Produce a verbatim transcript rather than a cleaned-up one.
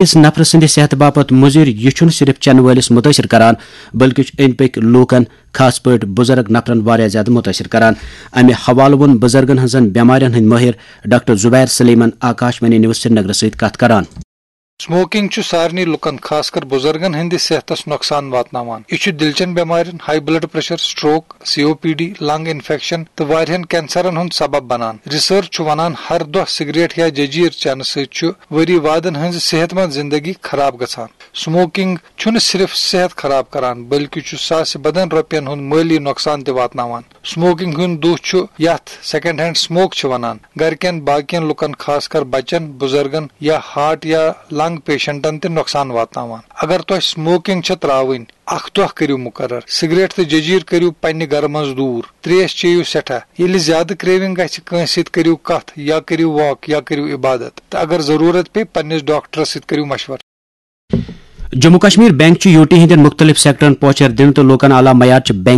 أکِس نفرٕ سٕنٛدِ صحتہٕ باپتھ مُضِر، یہِ چھُنہٕ صرف چٮ۪نہٕ وٲلِس مُتٲثِر کران، بلکہِ چھُ أنٛدۍ پٔکۍ لوٗکن، خاص پٲٹھۍ بُزرگ نفرن، واریاہ زیادٕ مُتٲثِر کران۔ اَمہِ حوالہٕ ووٚن بُزرگن ہٕنٛزن بٮ۪مارٮ۪ن ہٕنٛدۍ مٲہِر ڈاکٹر زبیر سلیمن آکاش وانی نیوز سرینگرٕ سۭتۍ کتھ کران۔ Smoking چھُ سارنٕے لُکن، خاص کر بُزرگن ہٕنٛدِ صحتس نۄقصان واتناوان۔ یہِ چھُ دِلچٮ۪ن بٮ۪مارٮ۪ن، ہاے بلڈ پریشر، سٹروک، سی او پی ڈی، لنگ انفیکشن تہٕ واریاہن کینسرن ہُنٛد سبب بنان۔ ریسرچ چھُ ونان، ہر دۄہ سگریٹ یا ججیٖر چٮ۪نہٕ سۭتۍ چھُ ؤری وادن ہٕنٛزِ صحت مند زندگی خراب گژھان۔ Smoking چھُنہٕ صرف صحت خراب کران، بلکہِ چھُ ساسہِ بدن رۄپین ہُنٛد مٲلی نۄقصان تہِ واتناوان۔ Smoking ہُنٛد دُہ چھُ یتھ سیکنڈ ہینڈ سموک چھِ ونان، گرِکٮ۪ن باقین لُکن، خاص کر بچن، بُزرگن یا ہارٹ یا لنگ پیشنٹن تہِ نۄقصان واتناوان۔ اگر تۄہہِ smoking چھےٚ ترٛاوٕنۍ، اکھ دۄہ کٔرِو مُقرر۔ سگریٹ تہٕ ججیٖر کٔرِو پننہِ گرٕ منٛز دوٗر۔ تریش چیٚیِو سٮ۪ٹھاہ۔ ییٚلہِ زیادٕ craving گژھِ کٲنٛسہِ سۭتۍ، کٔرِو کتھ یا کٔرِو واک یا کٔرِو عبادت۔ تہٕ اگر ضروٗرت پیٚیہِ، پننِس ڈاکٹرس سۭتۍ کٔرِو مشورٕ۔ جموں کشمیر بینک چھُ یوٗٹی ہٕنٛدٮ۪ن مُختٔلِف سیکٹرن پوچھر دِنہٕ تہٕ لوٗکن اعلیٰ معیار چہِ بینک